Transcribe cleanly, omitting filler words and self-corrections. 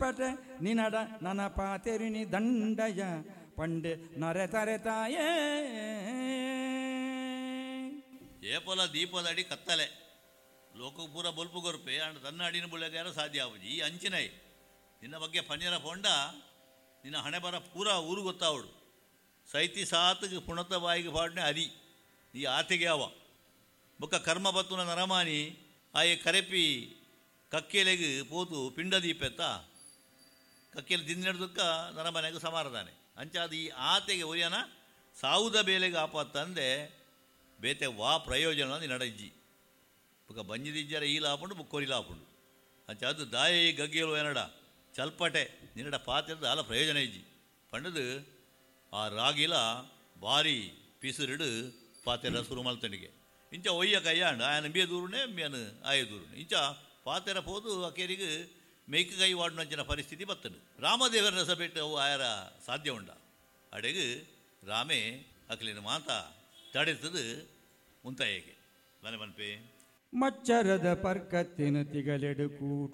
ಚಲ್ಪಟೆ ನಿನಡ ನನ ಪಾತೆರಿನಿ ದಂಡಯ ಪಂಡೆ ನರೆ ತರೆತಾಯೇ. ಏಪಲ ದೀಪದಡಿ ಕತ್ತಲೆ ಲೋಕ ಪೂರ ಬೊಲ್ಪು ಕೊರ್ಪೆ ಆಂಡ ತನ್ನ ಅಡಿನ ಬುಳೆಗಾರ ಸಾಧ್ಯ ಆಪುಜಿ. ಈ ಅಂಚಿನೈ ನಿನ್ನ ಬಗ್ಗೆ ಪನ್ಯರ ಪೋಂಡ ನಿನ್ನ ಹಣೆ ಬರ ಪೂರ ಊರು ಗೊತ್ತಾವಡು. ಸೈತಿ ಸಾತ್ಗ್ ಪುಣತ ಬಾಯಿಗೆ ಪಾಡ್ನೆ ಅರಿ ಈ ಆತೆಗೆ ಅವ ಬೊಕ್ಕ ಕರ್ಮ ಬತ್ತುನ ನರಮಾನಿ ಆಯೆ ಕರೆಪಿ ಕಕ್ಕೆಲೆಗ್ ಪೋತು ಪಿಂಡ ದೀಪೆತ್ತ ಕಕ್ಕೆಲೆ ದಿಂದಿನಡ್ದುಕ್ಕ ನರಮನೆಗೆ ಸಮಾರದಾನೆ. ಅಂಚಾದ ಈ ಆತೆಗೆ ಒರಿಯನ ಸಾವುದ ಬೇಲೆಗೆ ಆಪತ್ತಂದೆ ಬೇತೆ ವಾ ಪ್ರಯೋಜನ ನಿನ್ನಡ ಇಜ್ಜಿ. ಬೊಕ್ಕ ಬಂಜಿದಿಜ್ಜರ ಈ ಲಾಪುಂಡು ಬೊಕ್ಕೊರಿ ಲಾಪುಂಡು. ಅಂಚಾದ್ ದಾಯೆ ಈ ಗಗ್ಗೆಲು ಏನಡ ಚಲ್ಪಟೆ ನಿನ್ನಡ ಪಾತೆರದ ದಾಲ ಪ್ರಯೋಜನ ಇಜ್ಜಿ ಪಂಡದು ಆ ರಾಗಿಲ ಬಾರಿ ಪಿಸುರುಡು ಪಾತೆರ ಶುರು ಮಲ್ತಂಡಿಗೆ. ಇಂಚ ಒಯ್ಯ ಕೈಯಾಂಡ ಆಯನ ಇಂಬಿಯ ದೂರುನೆ ಇಂಬಿಯನ ಆಯ ದೂರುನೆ ಇಂಚ ಪಾತೆರ ಪೋದು ಅಕೇರಿಗೆ ಮೇಯ್ಕ ಕೈ ವಾಡುನಂಚಿನ ಪರಿಸ್ಥಿತಿ ಬತ್ತಂಡು. ರಾಮದೇವರ ಸಭೆಟ್ ಅವು ಆಯರ ಸಾಧ್ಯ ಉಂಡ. ಅಡೆಗ್ ರಾಮೆ ಅಕ್ಲಿನ ಮಾತ ತಡೆತದು ಉಂತಾಯೇಗೆ ಮನೆ ಮನ್ಪೆ ಮಚ್ಚರದ ಪರ್ಕತ್ತಿನ ತಿಗಲೆಡು ಕೂಟ.